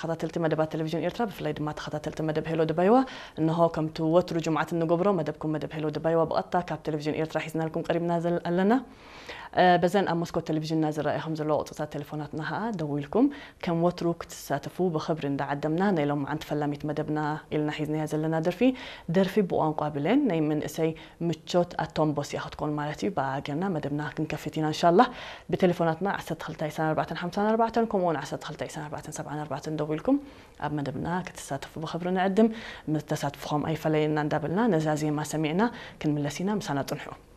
ተኸታተልቲ መደባት ቴሌቪዥን ኤርትራ፣ ብፍላይ ድማ ተኸታተልቲ መደብ ሄሎ ድባይዋ፣ እንሆ ከምቲ ወትሩ ጅምዓት እንገብሮ መደብኩም መደብ ሄሎ ድባይዋ ብቐጥታ ካብ ቴሌቪዥን ኤርትራ ሒዝናልኩም ቀሪብና ዘል-፣ ኣለና። እ፣ በዘን ኣብ መስኮት ቴሌቪዥንና ዝረኣዩ ከም ዘለዉ ቁጽርታት ቴሌፎናትና ኸኣ ደዊልኩም ከም ወትሩ ክትሳተፉ ብኽብሪ እንዳዓደምና፣ ናይ ሎማዓንቲ ፈላሚት መደብና ኢልና ሒዝናያ ዘለና ደርፊ፣ ደርፊ ብቋንቋ ብሌን ናይ መንእሰይ ምቾት ኣቶምቦስ እያ ክትኮን ማለት እዩ። ብኣ ጌርና መደብና ክንከፍት ኢና እንሻላህ። ብቴሌፎናትና ዓሰርተ ክልተ ዕስራን ኣርባዕተን ሓምሳን ኣርባዕተን ከምኡውን ዓሰርተ ክልተ ዕስራን ኣርባዕተን ሰብዓን ኣርባዕተን ደዊልኩም ኣብ መደብና ክትሳተፉ ብኽብሪ ንዕድም። ምስ ተሳትፍኹም ኣይፈለየና እንዳበልና ነዛ ዜማ ሰሚዕና ክንምለስ ኢና። ምሳና ጽንሑ።